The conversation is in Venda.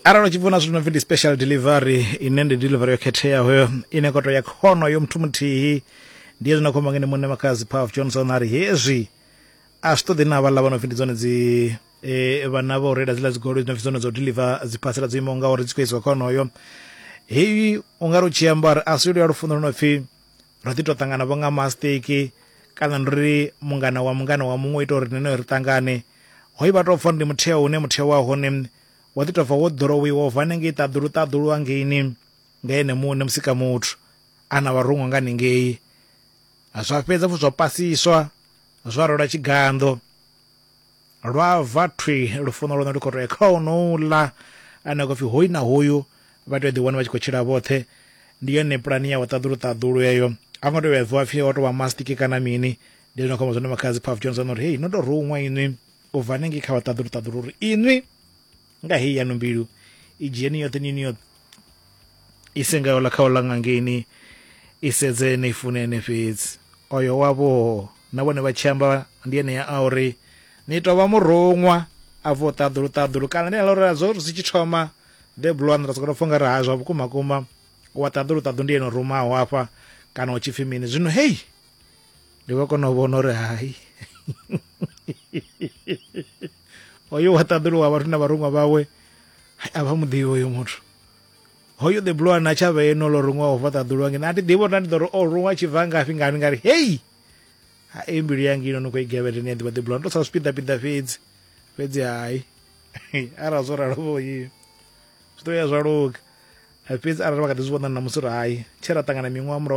Arali u tshi vhona zwithu no pfi ndi special delivery, ine ndi delivery yo khetheaho ine koto ya khono yo muthu muthihi, ndi hezwi na khomba ngene muṋe Makhadzi Puff Johnson a ri hezwi a zwi ṱoḓi na vhaḽa vha no pfi ndi dzone dzi vhana vha u reila dziḽa dzigoloi dzi no pfi dzone dzo deliver dziphasela dzo imaho ngauri dzi khou isiwa kha honoyo. Heyi u nga ri u tshi amba uri a si luya lufuno lu no pfi ro ḓi tou ṱangana vho nga masteki, kana ndi uri mungana wa mungana wa muṅwe u ita uri nṋe ri ṱangane. Hoyu vha tou pfa uri ndi mutheo une mutheo wa hone wa ḓi tou bva wo ḓorowiwa u bva hanengei ṱaḓulu ṱaḓulu hangeini nga ene muṋe musika muthu a na vharuṅwa nga hanengei, zwa fhedza futhi zwa pasiswa zwa rwelwa tshiganḓo lwa bva thwi lufuno lwone lu khou tou ya kha honouḽa ane a khou pfi hoyu na hoyu vha tea u ḓi wana vha tshi khou tshila vhoṱhe. Ndi yone pulani ya wa ṱaḓulu ṱaḓulu heyo, a ngo tea u ya bviwa pfhi o tou vha mastiki kana mini. Ndi zwino khou amba zwone Makhadzi Puff Johnson uri hei no tou ruṅwa inwi u bva hanengei kha vha ṱaḓulu ṱaḓulu uri inwi nga heyi yanu mbilu i dzhieni yoṱhe ni yo ise nga yola kha ola ngangeini i sedze ni fune ene fhedzi oyo wavho na vhone vha tshi amba ndi ene ya a uri ni tou vha muruṅwa a bvaho ṱaḓulu ṱaḓulu kana ndi ḽa uri zwo zwi tshi thoma the blue one ra sokou pfa ungari ha zwa vhukuma kuma wa ṱaḓulu ṱaḓulu ndi ene o rumaho hafha kana u tshi pfi mini zwino hei ndi vha kona u vhona uri hai hoyo wa ṱaḓulu wa vhathu na vharuṅwa vhawe a vha muḓivhi hoyo muthu hoyo the blue one a tsha vha eno lo ruṅwaho fha ṱaḓulu wange a thi ḓivhi uri na ndi ḓo ri o ruṅwa tshi bva ngafhi ngani ngari hei ha e mbilu yanga ino no khou i gevhele ni a ḓivha the blue one to sa zwipiḓa piḓa fhedzi fhedzi hai arali zwo ralo vho yi zwi ḓo ya zwa luga fhedzi arali vha kha ḓi zwi vhona na musi uri hai tshe ra ṱangana miṅwaha murahu.